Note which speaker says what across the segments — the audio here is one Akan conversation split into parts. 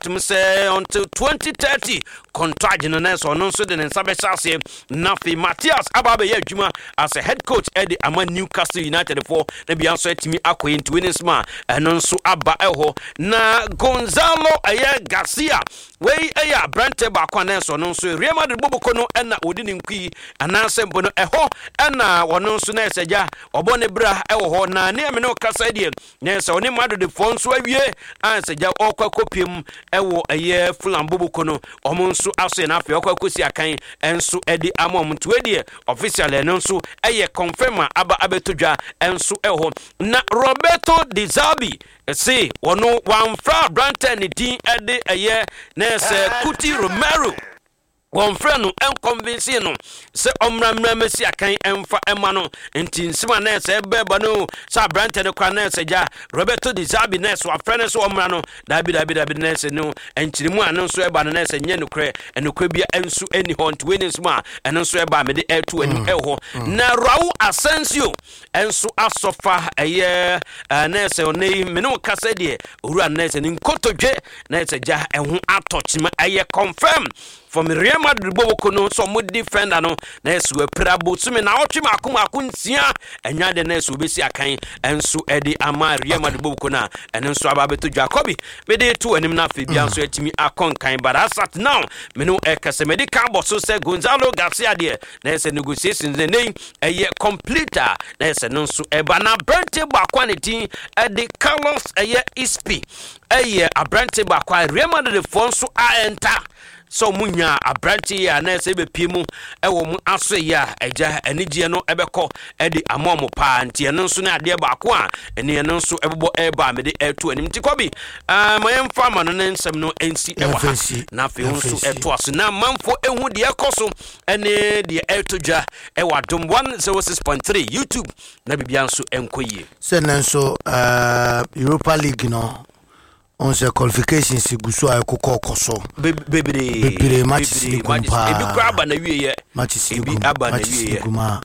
Speaker 1: Tum sɛ until 2030 contract no na sɛ ɔno nso de ne nsa bɛhyɛ aseɛ. Na afei Matthias aba abɛyɛ adwuma as a head coach ɛde ama Newcastle United foɔ, na bia nso atumi akɔ yɛ. Nti wei ne nsɛm a ɛno nso aba ɛhɔ. Na Gonzalo ɛyɛ Garcia, wei ɛyɛ aberantɛ baako a na ɛsɛ ɔno nso Real Madrid boboko no ɛna wɔde ne nkui anaasɛ mpo no ɛhɔ ɛna ɔno nso na ɛsɛ gya ɔbɔ ne bra ɛwɔ hɔ. Na ne ɛmene ɔkasa deɛ na sɛ ɔne Madridfoɔ nso awie a, sɛ gya ɔkɔ akɔpiem ɛwɔ ɛyɛ Fulham boboko no, ɔmo nso aso yɛ no. Afei ɔkɔ akɔsi akan ɛnso ɛde ama ɔmo. Nti wei deɛ, official ɛno nso ɛyɛ confirm a aba abɛto dwa ɛnso ɛwɔ hɔ. Na Roberto De Zerbi se wɔno wamfra aberantɛ ne din ɛde ɛyɛ na ɛsɛ Cuti Romero, wɔmfrɛ no ɛnconvince no sɛ ɔmmra mmra mɛsi akan ɛmfa ɛma no. Nti nsɛm a na ɛsɛ ɛbɛɛba no sɛ aberantɛ no kora na ɛsɛ gya Roberto De Zerbi na ɛsɛ wafrɛ no sɛ ɔmmra no, daabi, daabi, daabi. Na ɛsɛ no nkyerɛmu a no nso ɛba no na ɛsɛ nyɛ nokorɛ, ɛnokorɛ bia ɛnso ɛni hɔ. Nti wei ne nsɛm a ɛno nso ɛba a mede ɛto anim ɛwɔ hɔ. Na Raul Asensio ɛnso asɔfa ɛyɛ na ɛsɛ ɔnɛ yi mene wo kasa deɛ, owura, na ɛsɛ ne nkotodwe na ɛsɛ gya ɛho atɔ kyima. Ɛyɛ confirm from Real Madrid boboko no sɛ ɔmo defender no na ɛsɛ wapira bosome na ɔtwe maako maako 6. Ɛnya de na ɛsɛ obɛsi akan ɛnso ɛde ama Real Madrid boboko no a ɛno nso aba abɛtɔ dwa kɔbi mede to anim. No afei bia nso atumi akɔ nkan, but as at now me no ɛkɛsɛ mede ka bɔ so sɛ Gonzalo Garcia deɛ na ɛsɛ negotiations ne nei ɛyɛ complete a na ɛsɛ no nso ɛba. Na aberante baako a ne din ɛde Carlos ɛyɛ Ispi, ɛyɛ aberante baako a Real Madrid foɔ nso a ɛnta sɛ ɔmo nya aberante yi a na ɛsɛ bɛpie mu ɛwɔ mo aso yi a agya anigyeɛ no ɛbɛkɔ ɛde ama ɔmo paa. Nti ɛno nso ne adeɛ baako a ɛne ɛno nso ɛbobɔ ɛreba a mede ɛto anim. Nti kɔbi ma yɛmfa ama no ne nsɛm no ɛnsi ɛwɔ ha. Na afei wo nso ɛtoa so na amanfoɔ ɛhu deɛ ɛkɔ so ɛne deɛ ɛreto dwa ɛwɔ Adom 106.3 YouTube na biribia nso ɛnkɔ yie.
Speaker 2: Sɛ ne nso Europa League no ɔn sɛ qualifications gu so a ɛkokɔ kɔ so.
Speaker 1: Bebree.
Speaker 2: Bebree, matches ni gum paa.
Speaker 1: Ebi kora aba na wie yɛ.
Speaker 2: Matches ni
Speaker 1: ebi
Speaker 2: gum
Speaker 1: aba na
Speaker 2: matches
Speaker 1: wie
Speaker 2: ni
Speaker 1: yɛ
Speaker 2: gum a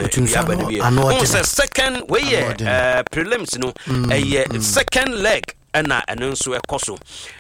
Speaker 2: otum
Speaker 1: ebi
Speaker 2: sɛ
Speaker 1: aba na wie.
Speaker 2: Ano
Speaker 1: ɔn
Speaker 2: ɔdene.
Speaker 1: Sɛ second wei yɛ
Speaker 2: Ano ɔdene.
Speaker 1: Prelims no ɛyɛ second leg ɛna ɛno nso ɛkɔ so.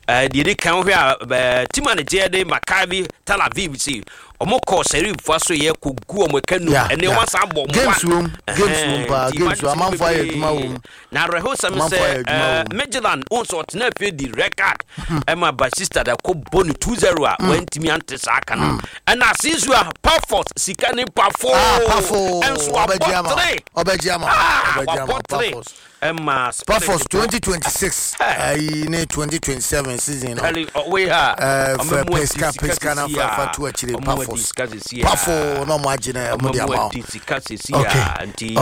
Speaker 1: Deɛ di kan, wohwɛ a team a ne gyeɛ de Maccabi Tel Aviv si ɔmo kɔ Serifo so yɛ kɔ gu ɔmo ɛka num ɛne ɔmo asan bɔ ɔmo.
Speaker 2: Games
Speaker 1: one.
Speaker 2: wom, games wom paa.
Speaker 1: Nti
Speaker 2: Games
Speaker 1: matches
Speaker 2: wom, amanfo ayɛ
Speaker 1: bebree.
Speaker 2: adwuma wom.
Speaker 1: Na awerɛhosɛm
Speaker 2: Amanfo
Speaker 1: sɛ
Speaker 2: ayɛ adwuma wom.
Speaker 1: Midtjylland wo nso ɔtena afie di red card ɛma Basista da kɔ bɔ no 2-0 a wantumi ante saa ka no. Ɛna asisu a Pafos sika ne Pafo
Speaker 2: Ah, Pafo
Speaker 1: ɛnso
Speaker 2: ɔbɛgye
Speaker 1: wabɔ
Speaker 2: ama.
Speaker 1: 3.
Speaker 2: Ɔbɛgye ama.
Speaker 1: Ah,
Speaker 2: ɔbɛgye ama.
Speaker 1: wabɔ 3
Speaker 2: Pafos
Speaker 1: ɛma
Speaker 2: Pafos
Speaker 1: Spirit
Speaker 2: 2026 ayi ne 2027 season no.
Speaker 1: Kali wei ha.
Speaker 2: Fɛ pesika pesika na fa to akyire. Pafos Pafo na ɔmo agye na ɔmo de ama wo.
Speaker 1: Sika sisi a nti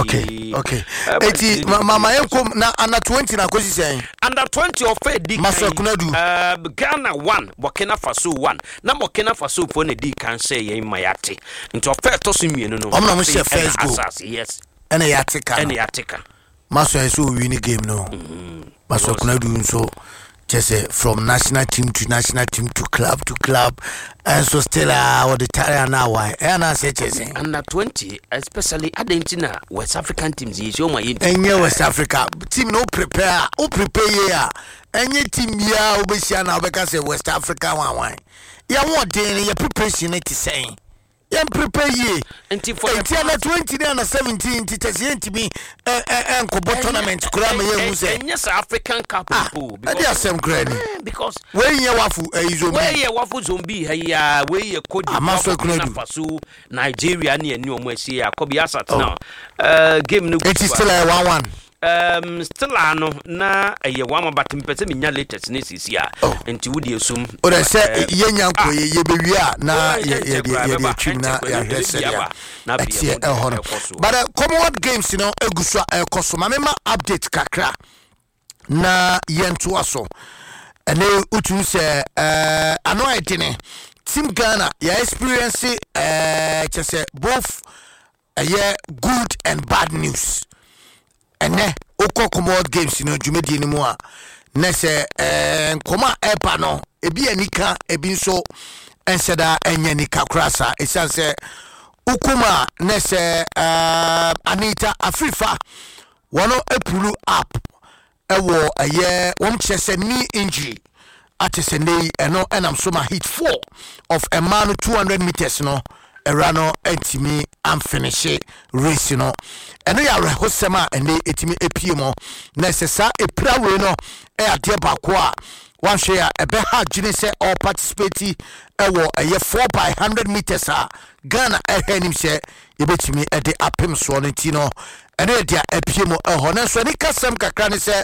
Speaker 2: Okay, eti ma yɛn kom na under 20 na akosi sɛn?
Speaker 1: Under 20 ɔfɛ di
Speaker 2: Maso
Speaker 1: kan.
Speaker 2: Kunadu.
Speaker 1: Ghana 1, Burkina Faso 1. Na Burkina Faso foɔ na di kan sɛ yɛn ma yɛate, nti ɔfɛ ɛtɔ so mmienu no
Speaker 2: Ɔmo na ɔmo
Speaker 1: afei
Speaker 2: hyɛ first
Speaker 1: ɛna
Speaker 2: goal.
Speaker 1: Asase, yes.
Speaker 2: Ɛna yɛate ka
Speaker 1: ɛna
Speaker 2: no.
Speaker 1: Yɛate ka.
Speaker 2: Maso yɛ sɛ owi ne game no. Maso Kunadu nso kyɛ sɛ from national team to national team to club to club, ɛnso still a wɔde tare ana awae ɛyɛ ana asɛ kyɛ sɛ
Speaker 1: Under 20 especially, adɛn nti na West African teams yɛ hyɛ ɔmo a yɛnti
Speaker 2: ɛnyɛ West Africa team no, wo prepare a, wo prepare yie a, ɛnyɛ team biara wobɛhyia na wobɛka sɛ West Africa wanwan. Yɛhoɔden no, yɛ preparation no te sɛn? Yɛn prepare yie.
Speaker 1: Nti for the
Speaker 2: Enti under 20 ne under 17 nti kyɛ sɛ yɛntumi ɛnkɔbɔ tournament koraa ma yɛhu sɛ
Speaker 1: ɛnyɛ sɛ African Cup
Speaker 2: Ah,
Speaker 1: mpo.
Speaker 2: ɛde asɛm koraa ni.
Speaker 1: Because
Speaker 2: wei nyɛ WAFU ɛyi zone B.
Speaker 1: Wei yɛ WAFU zone B ha yi a, wei yɛ Cote
Speaker 2: Ama
Speaker 1: d'Ivoire,
Speaker 2: so
Speaker 1: Burkina
Speaker 2: Kunadu.
Speaker 1: Faso, Nigeria ne ɛne ɔmo asi akɔbi asat now game no gu
Speaker 2: Eti
Speaker 1: so a-
Speaker 2: still ɛyɛ 1-1.
Speaker 1: Still a no na ɛyɛ 1-1, but mpɛ sɛ menya latest ne sisi a.
Speaker 2: Oh.
Speaker 1: Nti wode esum.
Speaker 2: O de sɛ yɛnya nkɔ yɛ yɛbɛwie a na
Speaker 1: Oh,
Speaker 2: yɛde
Speaker 1: ɛnkyɛ koraa,
Speaker 2: yɛde
Speaker 1: ɛbɛba,
Speaker 2: atwim na
Speaker 1: ɛnkyɛ koraa,
Speaker 2: yɛahwɛ
Speaker 1: ɛbɛbi
Speaker 2: sɛdeɛ
Speaker 1: aba, na afei
Speaker 2: ɛteɛ
Speaker 1: yɛhu deɛ
Speaker 2: ɛhɔ no.
Speaker 1: ɛkɔ so.
Speaker 2: But Commonwealth Games no egu so a ɛkɔ so. Ma mema update kakra na yɛntoa so. Ɛne wotumi sɛ ano ayɛ dene. Team Ghana yɛ experience kyɛ sɛ both ɛyɛ good and bad news. Ɛnɛ wokɔ Commonwealth Games no dwumadie no mu a, na sɛ nkɔmɔ a ɛba no, ebi yɛ nika, ebi nso ɛnsɛ da ɛnyɛ nika koraa saa, ɛsiane sɛ wokom a na sɛ Anita Afrifa wɔn apull up ɛwɔ ɛyɛ wɔn kyerɛ sɛ knee injury. Ate sɛ nnɛ yi ɛno ɛnam so ma heat 4 of mmaa no 200 meters no, awura no antumi amfinihye race no. Ɛno yɛ awerɛhosɛm a ɛnɛ ɛtumi apue mu, na ɛsɛ saa ɛpira wei no ɛyɛ adeɛ baako a wanhwɛ a ɛbɛha adwene sɛ ɔparticipate ɛwɔ ɛyɛ 4 by 100 meters a Ghana ɛhwɛ anim sɛ yɛbɛtumi ɛde apem soɔ no. Nti no ɛno yɛ deɛ apue mu ɛhɔ. Nanso ani kasɛm kakra ne sɛ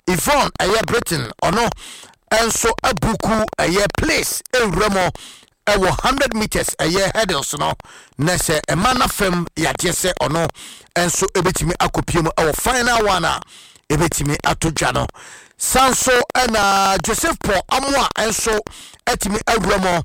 Speaker 2: Yvonne ɛyɛ Britain, ɔno ɛnso abuku ɛyɛ place ɛwura mu ɛwɔ 100 meters ɛyɛ hurdles no, na sɛ ɛma n'afam yadeɛ sɛ ɔno nso ɛbɛtumi akɔpie mu ɛwɔ final one a ɛbɛtumi ato dwa no. San so ɛna Joseph Paul Amoa nso ɛtumi awura mu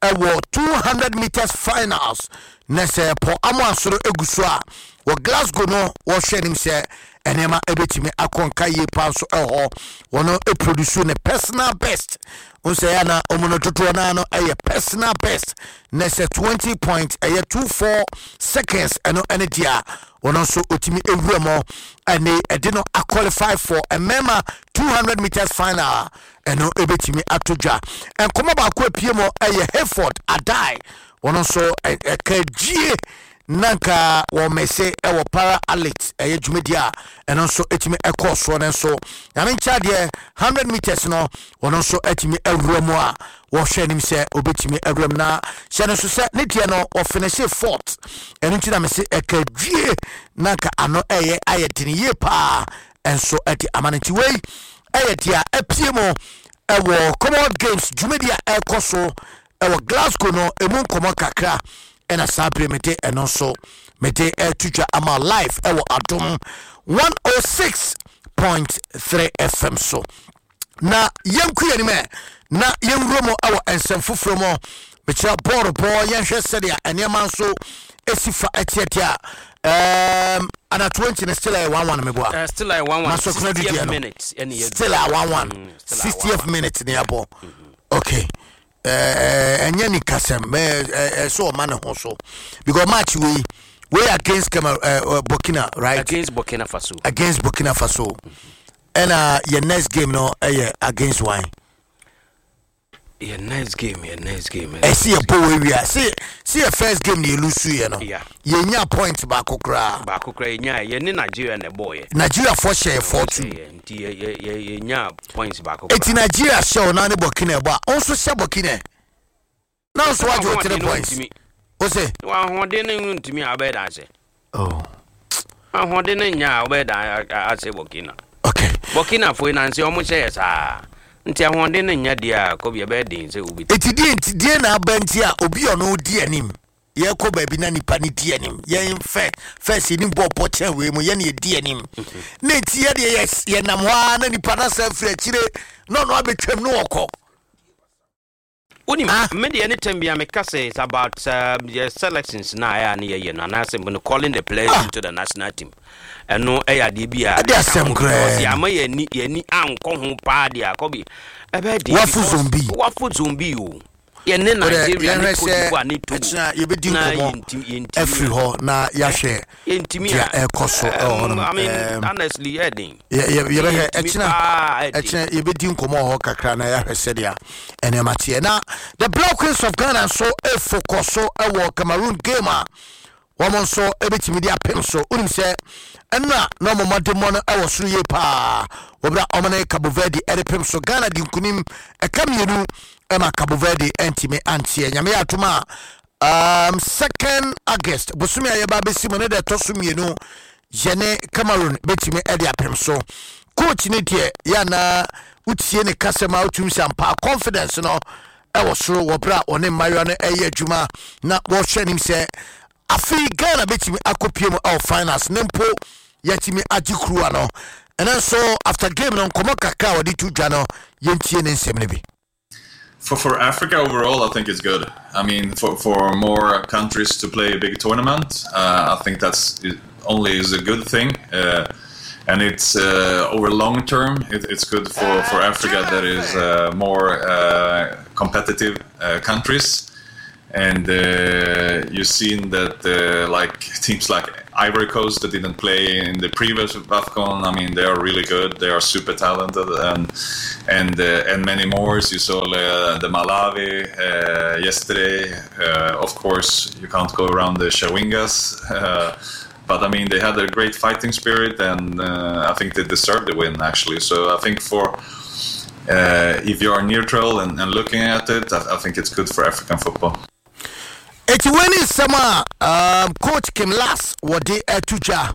Speaker 2: ɛwɔ 200 meters finals, na sɛ Paul Amoa nso no egu so a wɔ Glasgow no, wɔhwɛ anim sɛ nneɛma ɛbɛtumi akɔ nka yie paa nso ɛhɔ. Wɔn produce ne personal best n sɛ ɛyɛ na ɔmo no dodoɔ naa no ɛyɛ personal best, na sɛ 20 point ɛyɛ 24 seconds, ɛno ɛne deɛ a wɔn nso otumi ewura mu ɛne ɛde no aqualify for mmarima 200 meters final. Ɛno ɛbɛtumi ato dwa. Nkɔmɔ baako apue mu ɛyɛ Hayford Adai, wɔn nso ɛka gyie na nka wɔn mɛsɛ ɛwɔ para athlete ɛyɛ dwumadi a ɛno nso ɛtumi ɛkɔɔ soɔ no nso. Nyame nkyɛn deɛ, 100 meters no wɔn nso ɛtumi awura mu a wɔhwɛ anim sɛ obɛtumi awura mu, na hyɛ no nso sɛ ne deɛ no wɔfinihye fourth. Ɛno nti na mese ɛka dwie na nka ano ɛyɛ ayɛ dene yie paa ɛnso ɛde ama no. Nti wei ɛyɛ deɛ apue mu ɛwɔ Commonwealth Games dwumadi a ɛrekɔ so ɛwɔ Glasgow no emu nkɔmɔ kakra, ɛna saa bere mede ɛno nso mede ɛto dwa ama live ɛwɔ Adom 106.3 FM so. Na yɛnku yɛn anim na yɛnwura mu ɛwɔ nsɛm foforɔ mu. Mekyerɛ bɔɔlo bɔɔ, yɛnhwɛ sɛdeɛ nneɛma nso esi fa ɛteɛteɛ a ana 20 no still ɛyɛ 1-1, meboa?
Speaker 1: Still ɛyɛ 1-1.
Speaker 2: Masokuna dudeɛ no still a 1-1, 60th minute ne yɛbɔ. Okay, ɛnyɛ ni kasɛm ɛsɛ ɔma ne ho so because match wei against Cameroon, Burkina, right?
Speaker 1: Against Burkina Faso.
Speaker 2: Against Burkina Faso. Ɛna yɛ next game no ɛyɛ against one?
Speaker 1: Yɛ next game, yɛ next game.
Speaker 2: Ɛsi yɛ bɔ wɔ ewia si yɛ first game na yɛ lose yɛ no. Yɛnya point baako koraa.
Speaker 1: Baako koraa yɛnya. Yɛ ne Nigeria na ɛbɔ yɛ.
Speaker 2: Nigeria fɔ hyɛ yɛ 4-2.
Speaker 1: Nti yɛ yɛ yɛnya points baako.
Speaker 2: Eti Nigeria hyɛ o na ne Burkina ɛbɔ a, ɔnso hyɛ Burkina na nso wagye o 3 points o se.
Speaker 1: Ahoɔden no ntumi a wobɛyɛ dan sɛ.
Speaker 2: Oh.
Speaker 1: Ahoɔden no nya a wobɛyɛ dan asɛ Burkina.
Speaker 2: Okay.
Speaker 1: Burkina fo yi nansi ɔmo hyɛ yɛ saa nti ahoɔden no nya deɛ a kɔbi ɛbɛyɛ den sɛ obi.
Speaker 2: Eti die nti die na aba nti a obi ɔno di anim, yɛkɔ baabi na nipa ne di anim, yɛn fɛ first yɛni bɔ bɔ kyɛn wei mu, yɛn yɛ di anim na eti yɛ deɛ yɛ yɛnam hɔ ara na nipa na sɛ firi akyire na ɔno abɛtwam na ɔkɔ.
Speaker 1: Wonim, me deɛ ne tɛm bia meka sɛ it's about yɛ selections na ɛyɛ a ne yɛyɛ no anaasɛ mpo no calling the players into the national team. Ɛno ɛyɛ adeɛ bi a
Speaker 2: ɛde asɛm koraa.
Speaker 1: Because ama yɛni ankɔ ho paa deɛ akɔbi ɛbɛyɛ den.
Speaker 2: Wafu zombi.
Speaker 1: Wafu zombi o, yɛne Nigeria ne Cote d'Ivoire ne Togo.
Speaker 2: Ɛkyina yɛbɛdi nkɔmmɔ afiri hɔ na yɛahwɛ deɛ ɛkɔ so ɛwɔ hɔ nom.
Speaker 1: I mean, honestly, yɛ den.
Speaker 2: Yɛbɛhwɛ ɛkyina, ɛkyina yɛbɛdi nkɔmmɔ wɔ hɔ kakra na yɛahwɛ sɛdeɛ nneɛma teɛ. Na the Black Queens of Ghana nso ɛfokɔ so ɛwɔ Cameroon game a wɔn nso ɛbɛtumi de apem so. Wonim sɛ ɛnna na ɔmo mmɔdemmɔ no ɛwɔ soro yie paa wɔbra ɔmo ne Cabo Verde ɛde pem so. Ghana di nkunim ɛka mmienu ɛma Cabo Verde ɛntumi anteɛ. Nyame yɛ atom a, 2nd August bosome a yɛba bɛsi mu ne deɛ ɛtɔ so mmienu, yɛne Cameroon bɛtumi ɛde apem so. Coach ne deɛ yɛ anaa wotie ne kasɛm a, wotumi sɛ ampa confidence no ɛwɔ soro wɔ berɛ a ɔne mmayewa no ɛyɛ adwuma na wɔhwɛ anim sɛ afei Ghana bɛtumi akɔpie mu ɛwɔ finals ne mpo yɛtumi agye kuruwa no. Ɛno nso after game no nkɔmmɔ kakra a wɔde to dwa no, yɛntie ne nsɛm no bi.
Speaker 3: For Africa overall, I think it's good. I mean, for more countries to play a big tournament, I think that's it only is a good thing. And it's over long term, it's good for Africa that is more competitive countries. And you've seen that like teams like Ivory Coast that didn't play in the previous AFCON. I mean, they are really good. They are super talented, and many more. You saw the Malawi yesterday. Of course, you can't go around the Chawingas. But I mean, they had a great fighting spirit, and I think they deserved the win, actually. So I think for if you are neutral and looking at it, I think it's good for African football.
Speaker 2: Eti wei ne nsɛm a coach Kim Lars wɔde ato dwa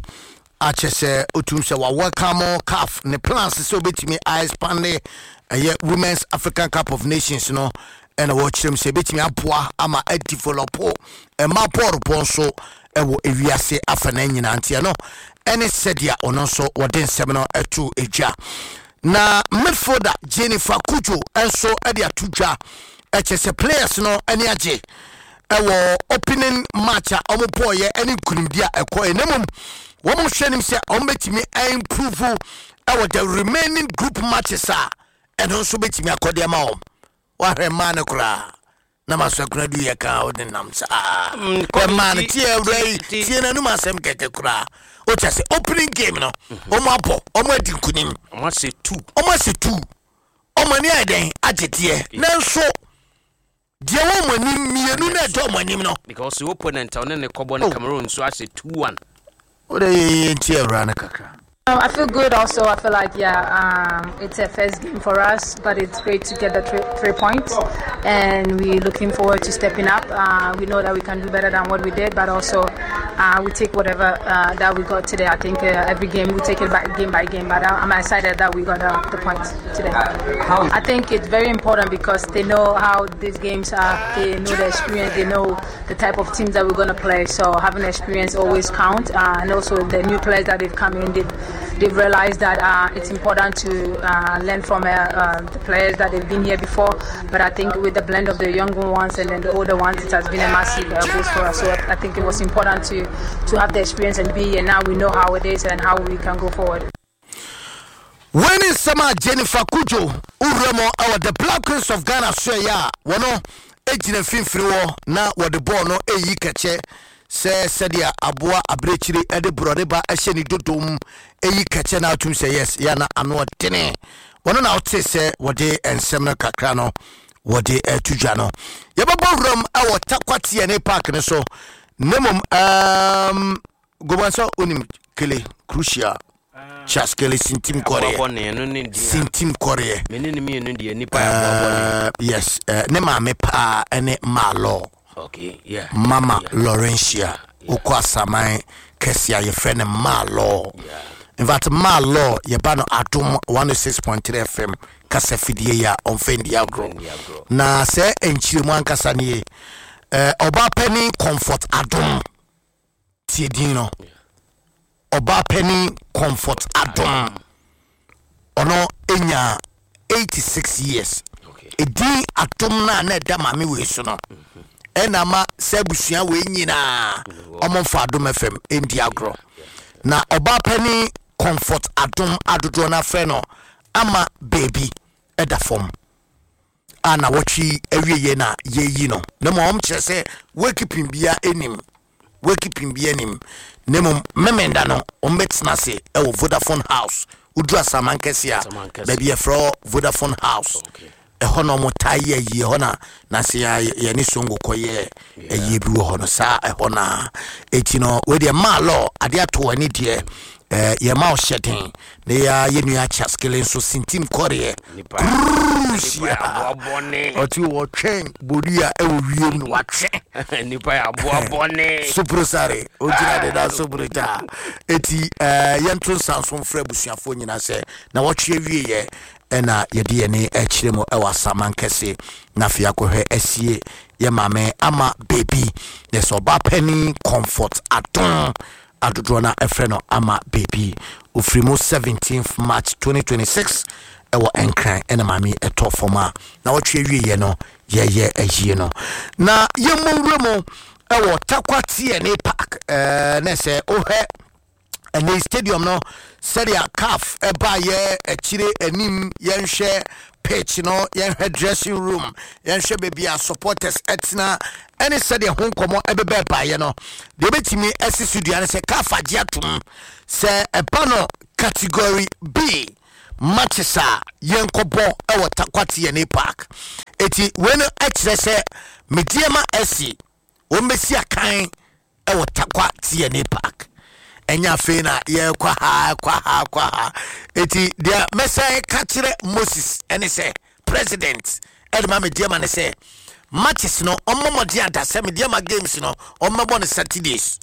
Speaker 2: akyɛ sɛ otum sɛ wa welcome CAF ne plans sɛ obetumi a expand ɛyɛ Women's African Cup of Nations no, ɛna wɔkyerɛ mu sɛ ebetumi aboa ama adevelop ɛma bɔɔl bɔ nso ɛwɔ ewiase afa na nyinaa. Nti ɛno ɛne sɛdeɛ ɔno nso wɔde nsɛm no ɛto edwa. Na midfielder Jennifer Cudjoe nso ɛde ato dwa ɛkyɛ sɛ players no ɛne agye ɛwɔ opening match a wɔn bɔɔyɛ ɛne nkunimdi a ɛkɔ. Ɛna mmom wɔn hwɛ nim sɛ wɔn bɛtumi improve ɛwɔ the remaining group matches a ɛno nso bɛtumi akɔde ama wɔn. Wahwɛ mmaa no koraa na ma so akora du yɛ ka wode nam saa mmaa no tie awura yi, tie n'anum asɛm kɛkɛ koraa. Wokyɛ sɛ opening game no wɔn abɔ, wɔn adi nkunim.
Speaker 1: Ɔmo ahyɛ two.
Speaker 2: Wɔn ahyɛ two, wɔn ani ayɛ dɛn agye deɛ, nanso deɛ wɔ wɔn anim mmienu na ɛdɔ wɔn anim no.
Speaker 1: Because the opponent a ɔne ne kɔbɔ no, Cameroon, nso ahyɛ 2-1.
Speaker 2: Wode yɛyɛ nti awura no kakra.
Speaker 4: I feel good also. I feel like, yeah, it's a first game for us, but it's great to get the 3 points, and we're looking forward to stepping up. We know that we can do better than what we did, but also we take whatever that we got today. I think every game we take it back game by game, but I'm excited that we got the points today. I think it's very important because they know how these games are. They know the experience. They know the type of teams that we're going to play. So having experience always count, and also the new players that they've come in, they've realized that it's important to learn from the players that they've been here before. But I think with the blend of the younger ones and then the older ones, it has been a massive boost for us. So I think it was important to have the experience and be here. Now we know how it is and how we can go forward.
Speaker 2: Wei ne nsɛm a Jennifer Cudjoe wowura mu ɛwɔ the Black Queens of Ghana so ɛyɛ a wɔno gyina mfimfini hɔ na wɔde bɔɔl no ɛyi kɛkyɛ sɛ sɛdeɛ aboa abirekyiri ɛde borɔde ba ɛhyɛ ne dodom ɛyi kɛkyɛ no atum sɛ yes yɛ na ano ɔdene. Wɔno na wote sɛ wɔde nsɛm no kakra no wɔde ɛto dwa no. Yɛbɛbɔ wuram ɛwɔ Tarkwa TnA Park no so, na mmom goban sɛ wonim Kele Crucial Charles Kele Sintim Kɔreɛ.
Speaker 1: Aboabɔne no ne din a
Speaker 2: Sintim Kɔreɛ.
Speaker 1: Mene ne mmienu deɛ nipa yɛ aboabɔne.
Speaker 2: Yes, ne maame paa ɛne Maalɔ. Mama Laurentia wokɔ Asaman kɛse a yɛfrɛ no Maalɔ. In fact, Maalɔ yɛba no Adom 106.3 FM kasa fidie yi a ɔmfa ndi agorɔ.
Speaker 1: Ndi agorɔ.
Speaker 2: Na sɛ nkyerɛmu ankasa nie, ɔbaa panin Comfort Adom, tie din no, ɔbaa panin Comfort Adom, ɔno ɛnya 86 years. Ɛdin Adom no a na ɛda maame wei so no ɛna ma sɛ abusua wei nyinaa ɔmomfa Adom FM ɛndi agorɔ. Na ɔbaa panin Comfort Adom adodoɔ no afrɛ no Ama Baabi ɛda fam a na wɔtwe awieɛ na yɛyi no, na mmom ɔm kyerɛ sɛ wakeeping bia anim, wakeeping bia anim, na mmom Memenda no ɔmbɛtena ase ɛwɔ Vodafone House. Woduru Asaman kɛse a
Speaker 1: Asaman kɛse.
Speaker 2: Baabi yɛfrɛ hɔ Vodafone House. Ɛhɔ na ɔmo taa yɛ ayie hɔ na nase yɛ yɛne Songo kɔyɛ ayie bi wɔ hɔ no saa ɛhɔ na eti no wei deɛ maa lɔ adeɛ ato wɔ ani deɛ yɛma wo hyɛ den na yɛ yɛ nua Kyaskele nso Sintim Kɔreɛ.
Speaker 1: Nipa nipa
Speaker 2: Crucial.
Speaker 1: yɛ aboabɔne.
Speaker 2: Ɔte wɔtwɛn bodua ɛwɔ wiem no watwɛn.
Speaker 1: Nipa yɛ aboabɔne.
Speaker 2: Soprosare ogyina de da soprogya eti yɛnto nsa nso mfrɛ abusuafoɔ nyinaa sɛ na wɔtwe awieyɛ ɛna yɛde yɛne akyerɛ mu ɛwɔ Asaman kɛse na afei akɔhwɛ asie yɛ maame Ama Baby na sɛ ɔba panin Comfort Adom adodoɔ no ɛfrɛ no Ama Baby, ofiri mu 17th March 2026 ɛwɔ Nkran ɛna maame ɛtɔ fam a na wɔtwe awieɛ no yɛyɛ ayie no. Na yɛmmɔ nwura mu ɛwɔ Tarkwa TnA Park na sɛ wohwɛ ɛne stadium no sɛdeɛ CAF ɛbaayɛ akyire anim yɛnhwɛ. Pitch no, yɛnhwɛ dressing room, yɛnhwɛ baabi a supporters ɛtena, ɛne sɛdeɛ ho nkɔmmɔ ɛbɛbɛ baeɛ no. Deɛ ɛbɛtumi asi so dua no sɛ CAF agye atom sɛ ɛba no Category B matches a, yɛnkɔbɔ ɛwɔ Tarkwa TNA Park. Eti wei no ɛkyerɛ sɛ Medeama SC wɔn bɛsi akan ɛwɔ Tarkwa TNA Park. Ɛnyɛ afei na yɛkɔ ha, kɔ ha, kɔ ha. Eti deɛ mɛsɛn ka kyerɛ Moses ɛne sɛ president ɛde ma Medeama ne sɛ matches no, ɔmmɔ mmɔden ada sɛ Medeama games no, ɔmmɛbɔ no Saturdays.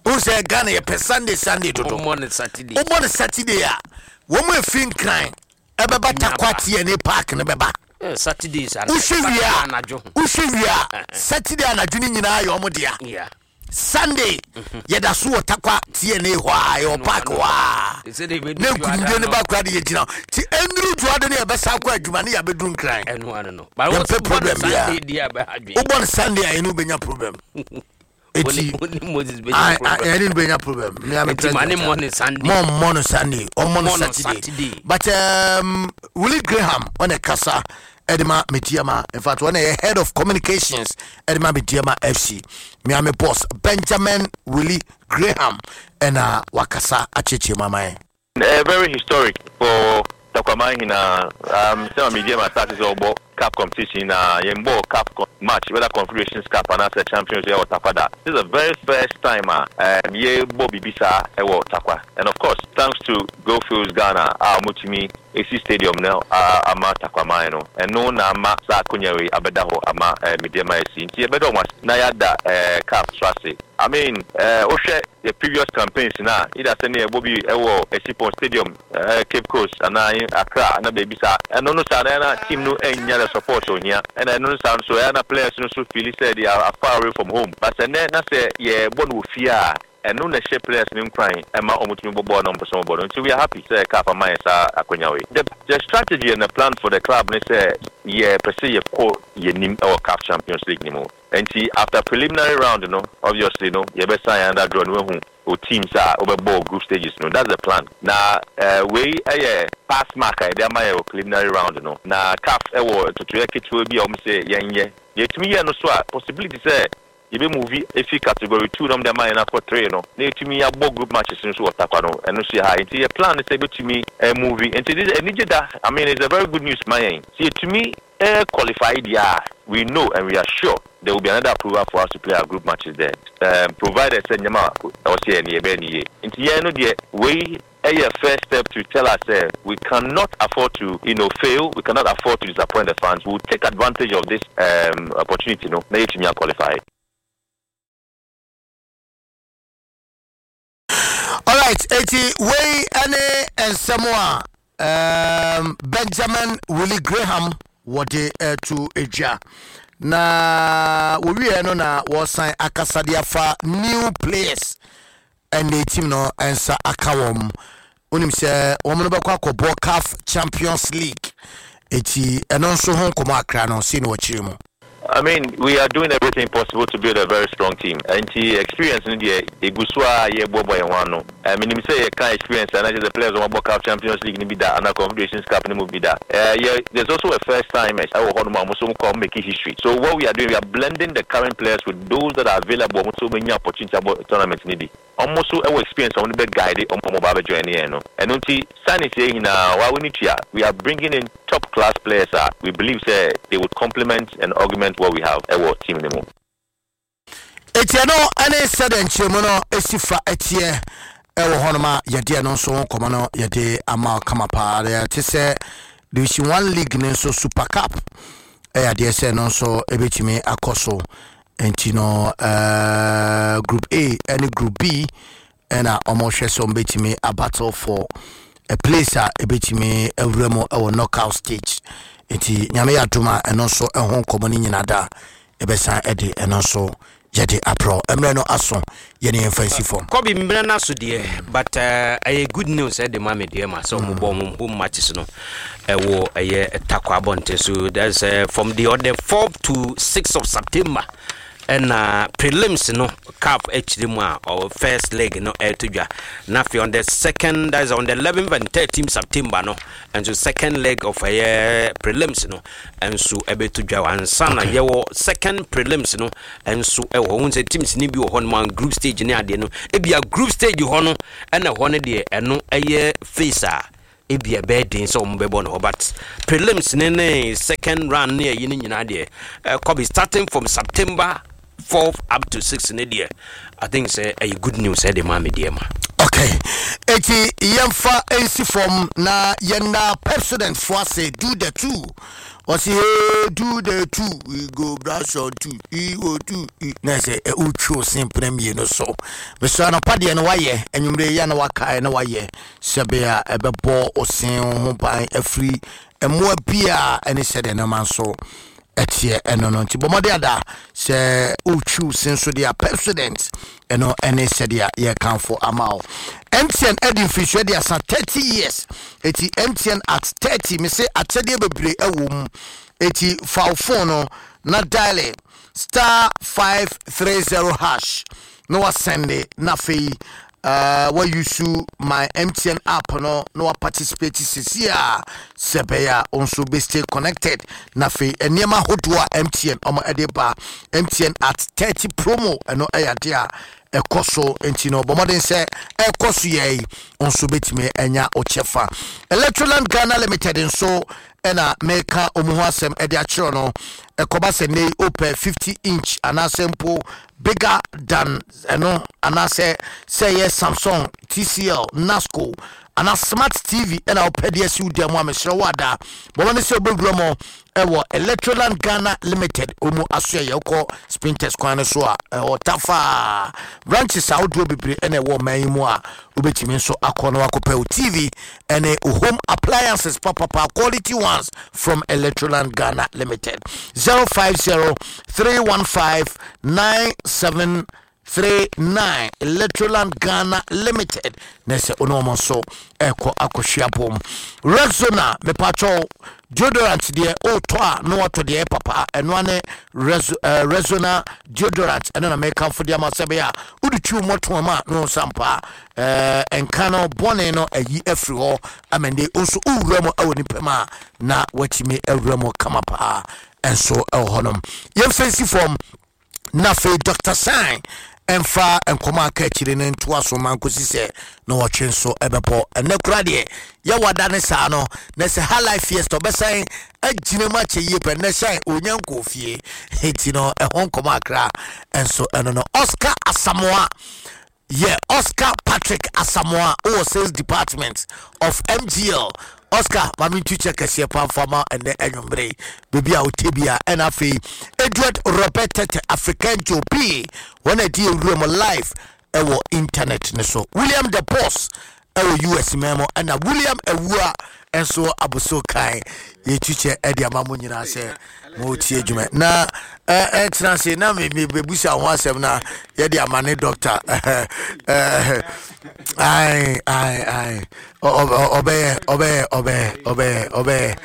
Speaker 2: Wohu sɛ Ghana yɛpɛ Sunday Sunday dodo.
Speaker 1: Ɔmmɔ no Saturday.
Speaker 2: Wobɔ no Saturday a, wɔn mu efi Nkran ɛbɛba Tarkwa TNA Park no bɛba.
Speaker 1: Saturdays
Speaker 2: wohwɛ wie a
Speaker 1: anadwo.
Speaker 2: Wohwɛ wie a, Saturday anadwo no nyinaa yɛ ɔmo dea. Sunday yɛda so wɔ Tarkwa TNA hɔ a, yɛwɔ park hɔ a, na nkunimdie no ba kora de yɛgyina hɔ nti ɛnnuru dwoade no, yɛbɛsa akɔ adwuma ne yɛabɛduru Nkran.
Speaker 1: Ɛno ano no.
Speaker 2: Yɛmpɛ problem biara. Wobɔ no Sunday a, yɛne wobɛnya problem. Eti ɛne no bɛnya problem. Mɔmmɔ no Sunday, ɔmmɔ no Saturday. But Willie Graham ɔne kasa ɛde ma Medeama. In fact, ɔne yɛ head of communications ɛde ma Medeama FC, Miami boss Benjamin Willie Graham, ɛna wakasa akyerɛkyerɛ mu ama yɛn.
Speaker 5: Very historic for Tarkwa nyinaa. Sɛ ma Medeama start sɛ ɔbɔ cup competition na yɛn bɔ cup match, whether Confederations Cup anaasɛ Champions, ɛwɔ Tarkwa da. This is the very first time a yɛbɔ biribi saa ɛwɔ Tarkwa, and of course thanks to Goldfields Ghana a wɔtumi esi stadium no ama Tarkwaman no. Ɛno na ama saa akonnwa wei abɛda hɔ ama Medeama asi. Nti yɛbɛda wɔn ase na yɛada CAF so ase. I mean, wohwɛ the previous campaigns na either sɛ ne yɛbɔ bi ɛwɔ Essipon Stadium, Cape Coast anaa Accra na baabi saa. Ɛno no saa na ɛna team no ɛnya the support ohia, ɛna ɛno no saa nso ɛna players no so feel sɛ they are far away from home. But sɛ nnɛ na sɛ yɛbɔ no wɔ fie a, ɛno na ɛhyɛ players no nkuran ɛma wɔn tumi bɔ bɔɔl na wɔn pɛ sɛ wɔn bɔ no. Nti we are happy sɛ CAF ama yɛn saa akonnwa wei. The strategy and the plan for the club ne sɛ yɛpɛ sɛ yɛkɔ yɛn anim ɛwɔ CAF Champions League ne mu. Nti after preliminary round no, obviously no, yɛbɛsan another draw no, wehu o teams a wobɛbɔ group stages no. That's the plan. Na wei ɛyɛ pass mark a yɛde ama yɛ wɔ preliminary round no. Na CAF ɛwɔ ntotoeɛ ketewa bi a wɔn sɛ yɛnyɛ. Yɛtumi yɛ no so a, possibility sɛ yɛbɛ move efi category two na wɔde ama yɛn akɔ three no, na yɛtumi abɔ group matches no so wɔ Tarkwa no, ɛno nso yɛ ha. Nti yɛ plan sɛ yɛbɛtumi move. Nti this anigye da, I mean, it's a very good news ma yɛn. Sɛ yɛtumi qualify deɛ a, we know and we are sure there will be another approval for us to play our group matches there, provided sɛ nneɛma a ɛwɔ sɛ yɛn no yɛbɛyɛ no yie. Nti yɛn no deɛ, wei ɛyɛ first step to tell us sɛ we cannot afford to fail, we cannot afford to disappoint the fans. We will take advantage of this opportunity no na yɛtumi qualify.
Speaker 2: Alright, eti wei ɛne nsɛm a Benjamin Willie Graham wɔde ɛto edwa na wɔwieɛ no, na wɔsan akasa de afa new players ɛne team no nsa aka wɔn. Wonim sɛ wɔn no bɛkɔ akɔbɔ CAF Champions League, eti ɛno nso ho nkɔmɔ akra no sei na wɔkyerɛ mu.
Speaker 5: I mean, we are doing everything possible to build a very strong team. Nti experience no deɛ, egu so a yɛboaboa yɛn ho ano. Menim sɛ yɛka experience a, na kyerɛ sɛ players wɔn abɔ CAF Champions League no bi da anaa Confederations Cup no mu bi da. Yɛ there's also a first timers ɛwɔ hɔnom a wɔn nso kɔ make history. So what we are doing, we are blending the current players with those that are available. Wɔn nso wɔnya opportunity abɔ tournament no bi. Wɔn nso ɛwɔ experience a wɔn bɛ guide wɔn a wɔn ba abɛ join yɛn no. Ɛno nti signings yɛ nyinaa wa we need to, we are bringing in top class players a we believe sɛ they would complement and augment what we have ɛwɔ team no mu.
Speaker 2: Eti ɛno ɛne sɛdeɛ nkyerɛmu no esi fa ɛteɛ ɛwɔ hɔnom a yɛde ɛno nso ho nkɔmɔ no yɛde ama kama paa. Yɛte sɛ Division One League ne nso Super Cup ɛyɛ adeɛ sɛ ɛno nso ɛbɛtumi akɔ so. Nti no Group A ɛne Group B ɛna wɔhwɛ sɛ wɔbɛtumi abattle for a place a ɛbɛtumi awura mu ɛwɔ knockout stage. Nti Nyame yɛ adom a, ɛno nso ɛho nkɔmmɔ no nyina da ɛbɛsan ɛde ɛno nso yɛde aporɔ. Mmerɛ no aso, yɛne yɛmfa nsi fam.
Speaker 1: Kɔbi, mmerɛ no aso deɛ, but ɛyɛ good news ɛde ma me deɛ ma sɛ ɔmo bɔ ɔmo home matches no ɛwɔ ɛyɛ Tarkwa abɔnten so. That's from the on the 4th to 6th of September. Ɛna prelims no CAF akyire mu a ɔwɔ first leg no ɛreto dwa. Na afei on the second, that is on the 11th and 13th September no nso second leg of ɛyɛ prelims no nso ɛbɛto dwa ansa na yɛwɔ second prelims no nso ɛwɔ hɔ. Wohu sɛ teams no bi wɔ hɔ no ma group stage ne adeɛ no, ebia group stage hɔ no ɛna hɔ no deɛ ɛno ɛyɛ phase a ebia ɛbɛyɛ den sɛ wɔn bɛbɔ no hɔ, but prelims ne ne second round ne ɛyi no nyinaa deɛ ɛkɔ starting from September 4th up to 6 ne deɛ, I think sɛ ɛyɛ good news ɛde maa me deɛ ma.
Speaker 2: Okay, eti yɛmfa nsi fam na yɛnna Pepsodent fo ase. Do the two, ɔsi hey, do the two, we go brush on two, we go two na sɛ wotwi wo sen mpena mmienu so mesɛ anɔpa deɛ no wayɛ, anwummerɛ yɛ na wakae na wayɛ sɛbe a ɛbɛbɔ wo sen ho ban afiri mmoa bi a ɛne sɛdeɛ nneɛma nso ɛteɛ ɛno no. Nti bɔ mmɔde ada sɛ wotwi wo sen so deɛ a, Pepsodent ɛno ɛne sɛdeɛ yɛkamfo ama wo. MTN ɛde mfirisua de asa 30 years, eti MTN at 30 me se akyɛdeɛ bebree ɛwɔ mu. Eti fa wo phone no na dial *530# na wasɛnde, na afei wa use my MTN app no na waparticipate sisi a sɛ ɛbɛyɛ a wo nso bɛ stay connected. Na afei nneɛma ahodoɔ a MTN ɔmo ɛde ba, MTN at 30 promo, ɛno ɛyɛ adeɛ a ɛkɔ so. Nti no bɔ mmɔden sɛ ɛkɔ so yɛ yi wo nso bɛtumi anya wo kyɛfa. Electroland Ghana Limited nso ɛna meka ɔmu ho asɛm ɛde akyerɛ no. Ɛkɔba sɛ nei wopɛ 50 inch anaasɛ mpo bigger than ɛno, anaasɛ sɛ ɛyɛ Samsung, TCL, Nasco anaa smart TV ɛna wopɛ de asi wo dan mu a, mesrɛ wo ada bɔmmɔ ne sɛ wobɛwura mu ɛwɔ Electroland Ghana Limited ɔmu aso. Ɛyɛ wokɔ Spintex kwan no so a, ɛwɔ Tafaa. Branches ahodoɔ bebree ɛna ɛwɔ ɔman yi mu a wobɛtumi nso akɔ na wakɔpɛ wo TV ɛne wo home appliances papapa, quality ones from Electroland Ghana Limited. 050 315 9739, Electroland Ghana Limited. Na sɛ wo ne ɔmo nso ɛkɔ akɔhwia pom. Rexona, mepatwɛw, deodorant deɛ wotɔ a na watɔ deɛ ɛyɛ papa. Ɛno ane Rexona deodorant. Ɛno na mekamfo deɛ ama sɛ bɛyɛ a wode twi wo mmɔtoa mu a na wo nsa mpa nka no bɔne no ayi afiri hɔ ama nde wo nso wowura mu ɛwɔ nipa mu a na watumi awura mu kama paa. Ɛnso ɛwɔ hɔnom, yɛmfa nsi fam na afei Dr Sign ɛmfa nkɔmɔ aka akyire no ntoa so ma nkosi sɛ na wɔtwe nso ɛbɛbɔ. Ɛnɛ kora deɛ yɛwada ne saa no na sɛ ha life fiesta ɔbɛsan agyina mu akyɛ yie pɛ. Nnɛ hyɛn ɔnya nkɔɔ fie nti no ɛho nkɔmɔ akra ɛnso ɛno no. Oscar Asamoa yɛ Oscar Patrick Asamoa wɔ sales department of MGL. Oscar, maame ntu kyɛ kɛseɛ pamfama ɛnɛ anwummere baabi a wote bi a. Ɛna afei Edward Robert Tete, African Joe P, wɔn a ɛdi ewura mu live ɛwɔ internet ne so. William the Boss ɛwɔ US mɛmo, ɛna William Awua nso aboso kan. Yɛtu kyɛ ɛde ama mo nyinaa sɛ motie adwuma na ɛtena ase na mebusa ho asɛm na yɛde ama ne doctor. Ai ai ai, ɔbɛyɛ ɔbɛyɛ ɔbɛyɛ ɔbɛyɛ ɔbɛyɛ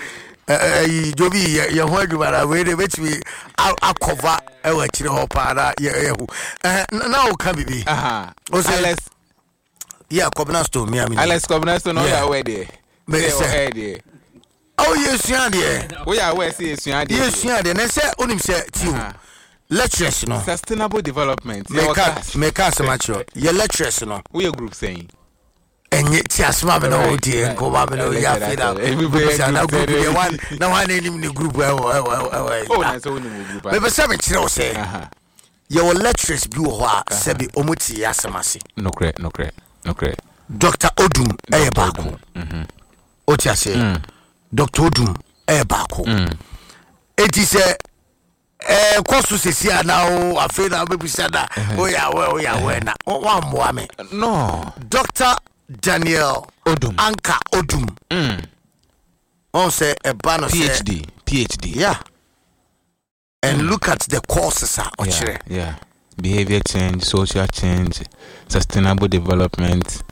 Speaker 2: ɛyi jobi yɛ ho adwuma na wei de bɛtumi akɔva ɛwɔ akyire hɔ paa na yɛhu na woka biribi.
Speaker 6: Alex.
Speaker 2: Yeah, Kɔbena Stone, mi a mi.
Speaker 6: Alex Kɔbena Stone, ɔyɛ awɛ deɛ.
Speaker 2: Mɛ sɛ
Speaker 6: deɛ.
Speaker 2: Ɔwɔ yɛ sua deɛ.
Speaker 6: Woyɛ awɛ sɛ yɛ sua deɛ.
Speaker 2: Yɛ sua deɛ na sɛ onim sɛ tiw lecturers no.
Speaker 6: Sustainable development.
Speaker 2: Mɛka mɛka asɛm akyerɛ yɛ lecturers no.
Speaker 6: Woyɛ group sɛn?
Speaker 2: Ɛnyɛ ti asɛm a mi na o die nkɔmɔ a mi na o yɛ afei na bisa na group deɛ wa na wa na enim ne group ɛwɔ ɛwɔ ɛwɔ.
Speaker 6: Oh, na sɛ wonim wo group.
Speaker 2: Mɛpɛ sɛ mi kyerɛ o sɛ yɛwɔ lecturers bi wɔ hɔ a sɛbi ɔmo ti yɛ asɛm ase.
Speaker 6: Nokorɛ, nokorɛ, nokorɛ.
Speaker 2: Dr Odum ɛyɛ baako. O ti aseɛ, Dr Odum ɛyɛ baako. Eti sɛ ɛkɔ so sisi a na o afei na wobɛbisa na woyɛ awɛ woyɛ awɛ na wammoa me.
Speaker 6: No.
Speaker 2: Dr Daniel
Speaker 6: Odum.
Speaker 2: Anka Odum ɔn sɛ ɛba no sɛ
Speaker 6: PhD, PhD.
Speaker 2: Yeah, and look at the courses a ɔkyerɛ.
Speaker 6: Yeah. Behavior change, social change, sustainable development.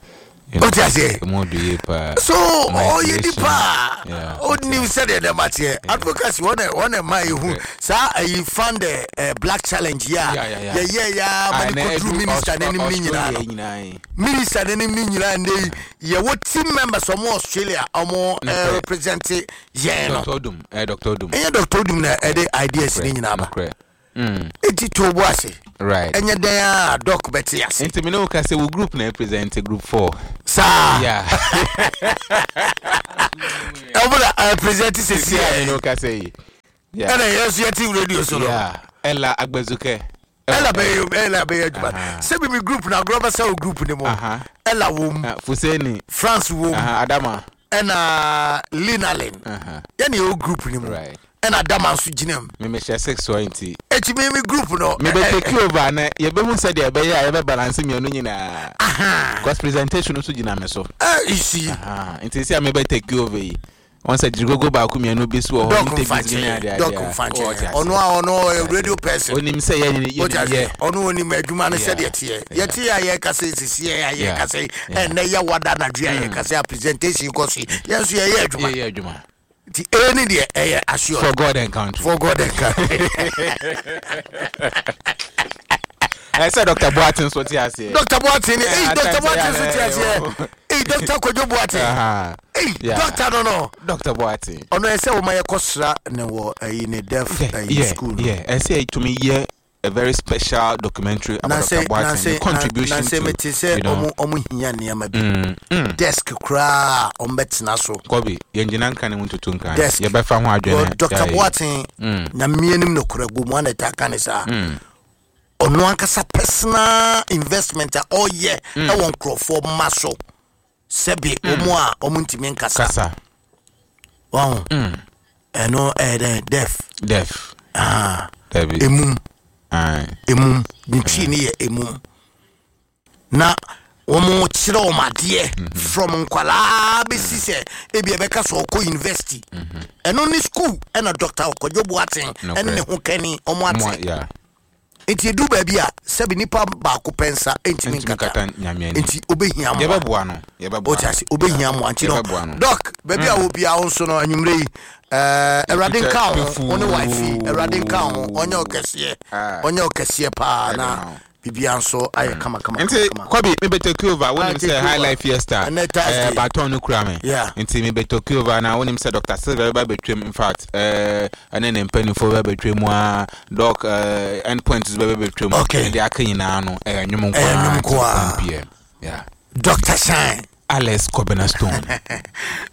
Speaker 2: Wote aseɛ?
Speaker 6: Emu ɔdɔ yie paa.
Speaker 2: So ɔyɛ nipa a
Speaker 6: Yeah,
Speaker 2: ɔnim sɛdeɛ nneɛma teɛ. Advocacy wɔn na wɔn na ɛma ehu saa ayi fund the black challenge yi a yɛyɛ ya ma ne kɔduru minister n'anim ne nyinaa no. Minister n'anim ne nyinaa ndɛ yi yɛwɔ team members ɔmo Australia ɔmo represent yɛn no.
Speaker 6: Dr. Odum, Dr. Odum.
Speaker 2: Ɛnyɛ Dr. Odum na ɛde ideas ne nyinaa ba. Eti to bo ase.
Speaker 6: Right.
Speaker 2: Ɛnyɛ dɛn a doc bɛte ase.
Speaker 6: Nti me ne wo ka sɛ wo group na represent group 4.
Speaker 2: Saa.
Speaker 6: Yeah.
Speaker 2: Ɛmo na represent sisi
Speaker 6: a. Me ne wo ka sɛ yi.
Speaker 2: Yeah. Ɛna yɛn nso yɛte radio so no.
Speaker 6: Yeah. Ella Agbezuke.
Speaker 2: Ella bɛyɛ Ella bɛyɛ adwuma. Sɛbi mi group na agorɔ bɛsɛ wo group ne mu. Ella wom.
Speaker 6: Fuseni.
Speaker 2: France wom.
Speaker 6: Adama.
Speaker 2: Ɛna Linalin. Yɛne yɛwɔ group ne mu.
Speaker 6: Right.
Speaker 2: Ɛna Adama nso gyina mu.
Speaker 6: Me mehyɛ six hɔ nti.
Speaker 2: Eti mi mi group no.
Speaker 6: Me bɛ take over na yɛbɛhu sɛdeɛ ɛbɛyɛ a yɛbɛ balance mmienu nyinaa. Because presentation nso gyina me so.
Speaker 2: You see.
Speaker 6: Nti sɛ me bɛ take over yi. Wɔn sɛ gyirigogo baako mmienu bi so wɔ hɔ.
Speaker 2: Dɔk nfa nkyɛn. Dɔk nfa nkyɛn. Ɔno a ɔno ɔyɛ radio person.
Speaker 6: Onim sɛ yɛ yɛ yɛ.
Speaker 2: Ɔno onim adwuma no sɛdeɛ teɛ. Yɛte yɛ a yɛkasa sisi yɛ a yɛkasa yi. Ɛnɛ yɛ wada anadwo a yɛkasa a presentation kɔ so yi. Yɛn nso yɛyɛ adwuma.
Speaker 6: Yɛyɛ adwuma.
Speaker 2: Nti ee ne deɛ ɛyɛ assured.
Speaker 6: For God and country.
Speaker 2: For God and country.
Speaker 6: Ɛsɛ Dr. Boateng nso te aseɛ.
Speaker 2: Dr. Boateng ni eyi Dr. Boateng nso te aseɛ. Eyi Dr. Kojo Boateng. Eyi Dr. no no.
Speaker 6: Dr. Boateng.
Speaker 2: Ɔno ɛsɛ wɔn ayɛ kɔ sra ne wɔ ɛyi ne deaf ɛyi school no.
Speaker 6: Yeah, ɛsɛ ɛtumi yɛ a very special documentary about Dr. Boateng, the contribution
Speaker 2: to, you know. Ɔmo hia nneɛma bi. Desk koraa ɔmo bɛtena so.
Speaker 6: Kobe, yɛn gyina nka ne ho ntutu nka.
Speaker 2: Desk.
Speaker 6: Yɛbɛfa ho adwene.
Speaker 2: Dr. Boateng, nyamea nim no kora gu mu ana ta ka ne saa. Ɔno ankasa personal investment a ɔyɛ ɛwɔ nkurɔfoɔ mma so. Sɛbi ɔmo a ɔmo ntumi nkasa.
Speaker 6: Kasa.
Speaker 2: Wɔn. Ɛno ɛyɛ dɛ deaf.
Speaker 6: Deaf. Dabi.
Speaker 2: Emum. Emum. Ne twi ne yɛ emum. Na wɔn kyerɛ wɔn adeɛ from nkwalaa bɛsi sɛ ebi ɛbɛka sɛ ɔkɔ university. Ɛno ne school ɛna Dr. Kwadwo Boateng ɛne ne ho kɛni ɔmo ate. Nti edu baabi a sɛbi nipa baako pɛ nsa ntumi nkata nti obehia mmoa.
Speaker 6: Yɛbɛboa no. Yɛbɛboa.
Speaker 2: O ti ase obehia mmoa nti no Doc baabi a wɔ biara nso no anwummerɛ yi Awurade nka ho wo ne wife Awurade nka ho ɔnyɛ ɔkɛseɛ ɔnyɛ ɔkɛseɛ paa na biribiara nso ayɛ kama kama.
Speaker 6: Nti Kobe me bɛ take over wonim sɛ High Life Fiesta baton no kura me nti me bɛ take over na wonim sɛ Dr. Silver bɛba bɛtwam in fact ɛne ne mpanimfoɔ bɛba bɛtwam mu a Doc end point nso bɛba bɛtwam
Speaker 2: okay.
Speaker 6: Ɛde aka nyinaa no ɛyɛ nnwom nko
Speaker 2: ɛyɛ nnwom nko
Speaker 6: a 1 p.m. Yeah.
Speaker 2: Dr. Shine
Speaker 6: Alex Kobena Stone.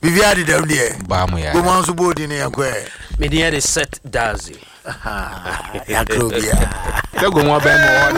Speaker 2: Biribiara dedam deɛ.
Speaker 6: Baa mu yɛ.
Speaker 2: Goma nso bɔɔ di ne yɛn kɔ ɛ.
Speaker 1: Medeɛ de Set Dazi.
Speaker 2: Yakro biara.
Speaker 6: Sɛ goma bɛn mu hɔ.